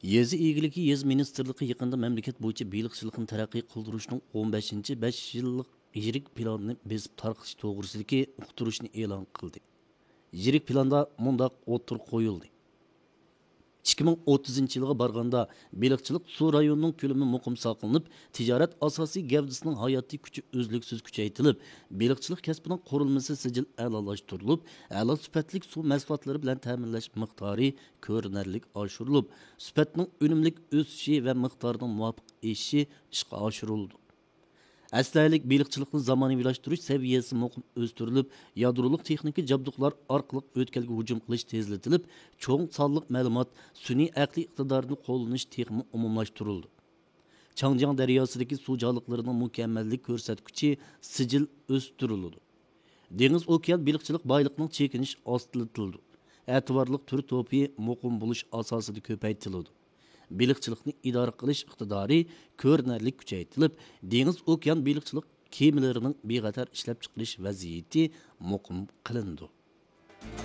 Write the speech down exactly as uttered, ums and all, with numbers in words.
يېزا ئىگىلىكى، يېزا مىنىستىرلىقى يېقىندا مەملىكەت بويىچە بېلىقچىلىقنى تەرەققىي قىلدۇرۇشنىڭ ئون بەشىنچى بەش يىللىق يىرىك پىلانىنى بېسىپ تارقىتىش توغرىسىدىكى ئۇقتۇرۇشنى ئېلان قىلدى. يىرىك پىلاندا مۇنداق ئوتتۇرىغا قويۇلدى: ئىككى مىڭ ئوتتۇزىنچى يىلغا بارغاندا، بېلىقچىلىق سۇ رايونىنىڭ كۆلىمى مۇقىم ساقلىنىپ، تىجارەت ئاساسىي گەۋدىسىنىڭ ھاياتىي كۈچى ئۈزلۈكسىز كۈچەيتىلىپ، بېلىقچىلىق كەسپىنىڭ قۇرۇلمىسى سىجىل ئەلالاشتۇرۇلۇپ، ئەلا سۈپەتلىك سۇ مەھسۇلاتلىرى بىلەن تەمىنلەش مىقدارى كۆرۈنەرلىك ئاشۇرۇلۇپ، سۈپەتنىڭ ئۈنۈملۈك ئۆسۈشى ۋە مىقدارىنىڭ مۇۋاپىق ئېشىشى ئىشقا ئاشۇرۇلىدۇ. ئەسلىھەلىك بېلىقچىلىقنى زامانىۋىلاشتۇرۇش سەۋىيەسى مۇقىم ئۆستۈرۈلۈپ، يادرولۇق تېخنىكا جابدۇقلار ئارقىلىق ئۆتكەلگە ھۇجۇم قىلىش تېزلىتىلىپ، چوڭ سانلىق مەلۇمات، سۈنئىي ئەقلىي ئىقتىدارنى قوللىنىش تېخىمۇ ئومۇملاشتۇرۇلىدۇ. چاڭجياڭ دەرياسىدىكى سۇ جانلىقلىرىنىڭ مۇكەممەللىك كۆرسەتكۈچى سىجىل ئۆستۈرۈلىدۇ. دېڭىز ئوكيان بېلىقچىلىق بايلىقىنىڭ چېكىنىشى ئاستىلىتىلىدۇ. ئەتىۋارلىق تۈر توپى مۇقىم بولۇش ئاساسىدا كۆپەيتىلىدۇ. بېلىقچىلىقنى ئىدارە قىلىش ئىقتىدارى كۆرۈنەرلىك كۈچەيتىلىپ، دېڭىز ئوكيان بېلىقچىلىق كېمىلىرىنىڭ بىخەتەر ئىشلەپچىقىرىش ۋەزىيىتى مۇقىم قىلىنىدۇ.